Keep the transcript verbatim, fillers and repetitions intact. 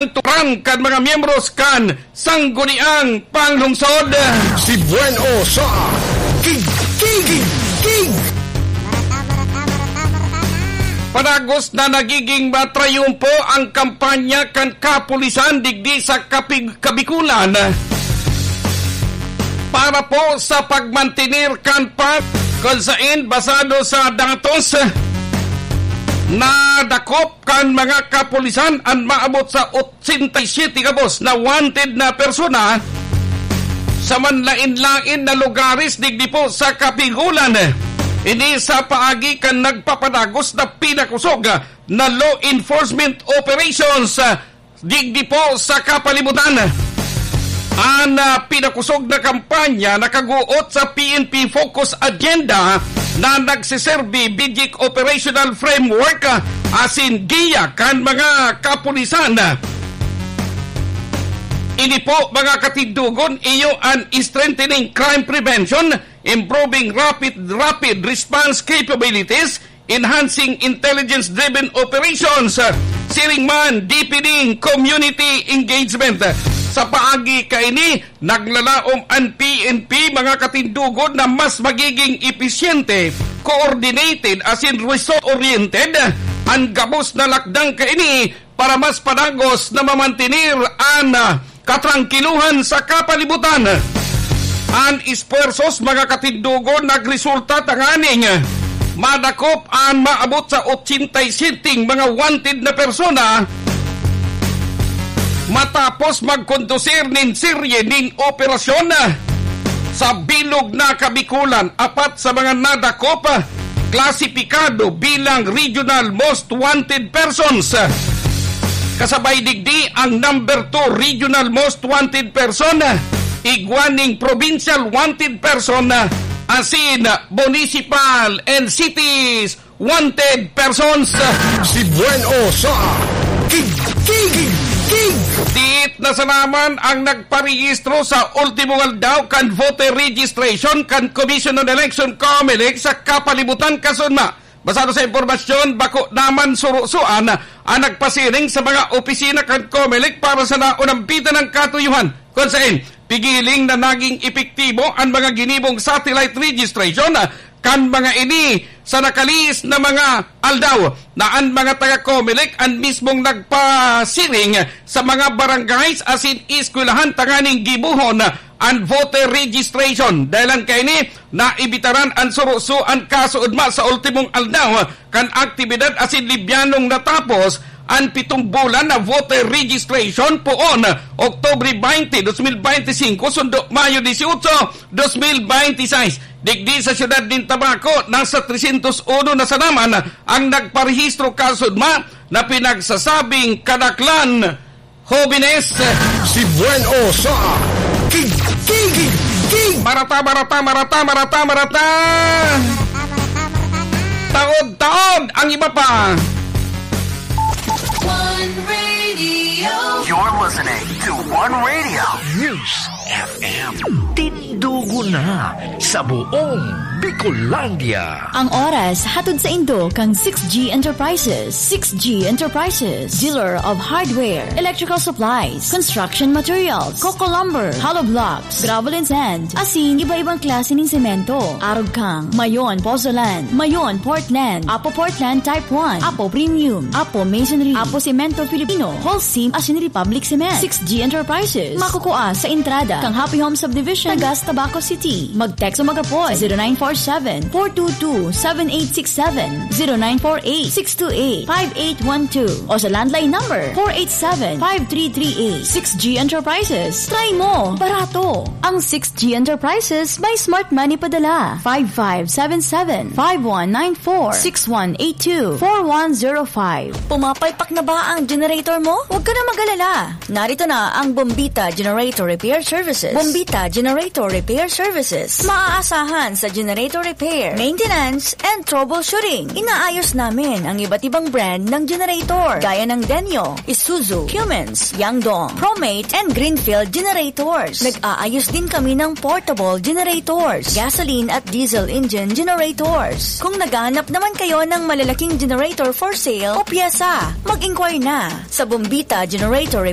turan kan mga miyembros kan Sangguniang Panglungsod. Si Buen O sa Kig, Kig, Kig, Kig. Padagos na nagiging matrayumpo ang kampanya kan kapulisan digdi sa Kapig-, Kabikulan para po sa pagmantener kan pag-, kung sain, basado sa datos, nadakop kan mga kapulisan an maabot sa otsenta y siyete gabos na wanted na persona sa manlain-lain na lugares digdi po sa Kapigulan. Ini sa paagi kan nagpapadagos na pinakusog na law enforcement operations, ah, digdi po sa kapalibutan. An, ah, pinakusog na kampanya nakaguot sa P N P Focus Agenda na nagsiserbi bidyik operational framework, ah, asin giya kan mga kapulisan. Ini po, mga katindogon, iyo an strengthening crime prevention, improving rapid, rapid response capabilities, enhancing intelligence-driven operations, siring man, deepening community engagement. Sa paagi kaini, naglalaom an P N P, mga katindogon, na mas magiging episyente, coordinated, asin result-oriented an gabos na lakdang kaini para mas padagos na mamantener an, ah, katrangkiluhan sa kapalibutan. An espuwersos, mga katindogon, nagresulta tanganing madakop an maabot sa otsenta y siyete mga wanted na persona matapos magkondusir nin serye nin operasyon sa bilog na Kabikulan. Apat sa mga nadakop, ah, klasipikado bilang regional most wanted persons. Kasabay digdi ang number two regional most wanted person, igwa ning provincial wanted person, asin municipal and cities wanted persons. Si Buen O sa Kig, Kig, Kig. Diit na sanaman ang nagparehistro sa ultimong aldaw kan voter registration kan Commission on Election, COMELEC, sa kapalibutan, kasunma. Basado sa impormasyon, bako naman surusuan ang nagpasiring sa mga opisina kan COMELEC para sa naunampitan ng katuyuhan, kung sain pigiling na naging epektibo ang mga ginibong satellite registration kan mga ini sa nakalihis na mga aldaw, na an mga taga-COMELEC an mismong nagpasiring sa mga barangays asin eskwelahan tanganing gibohon an voter registration. Dahelan kaini, naibitaran an surusoan kasoodma sa ultimong aldaw kan aktibidad asin libyanong natapos an pitong bulan na voter registration poon Oktubre baynte, dos mil baynte singko, sundo Mayo disiotso, dos mil baynte sais. Digdi sa siyudad nin Tabaco, nasa tresyentos uno na sanaman ang nagparehistro kasoodma na pinagsasabing kadaklan hobenes. Si Buen O sa Kig, Kig, Kig. Marata, marata, marata, marata, marata. Taod-taod ang iba pa. One Radio. You're listening to One Radio News F M. Tindugo na sa buong Bicolandia. Ang oras, hatod saindo kan six G Enterprises. Six G Enterprises, dealer of hardware, electrical supplies, construction materials, coco lumber, hollow blocks, gravel and sand, asin iba-ibang klase nin semento. Arog kang Mayon Pozzolan, Mayon Portland, Apo Portland Type one, Apo Premium, Apo Masonry, Apo Semento Filipino, Holcim asin Republic Cement. Six G Enterprises, makukua sa entrada kan Happy Home Subdivision, Nagas, Tabaco City. Mag-text o mag-apod sa zero nine four seven, four two two, seven eight six seven, zero nine four eight, six two eight, five eight one two, o sa landline number four eight seven, five three three eight. Six G Enterprises. Try mo! Barato! Ang Six G Enterprises may smart money padala. Five five seven seven, five one nine four, six one eight two, four one zero five. Pumapalpak na ba ang generator mo? Huwag ka na mag-alala. Narito na ang Bombita Generator Repair Service. Services. Bombita Generator Repair Services. Maaasahan sa generator repair, maintenance, and troubleshooting. Inaayos namin ang iba't ibang brand ng generator, gaya ng Denyo, Isuzu, Cummins, Yangdong, Promate, and Greenfield generators. Nag-aayos din kami ng portable generators, gasoline at diesel engine generators. Kung naghahanap naman kayo ng malalaking generator for sale o pyesa, mag-inquire na sa Bombita Generator Repair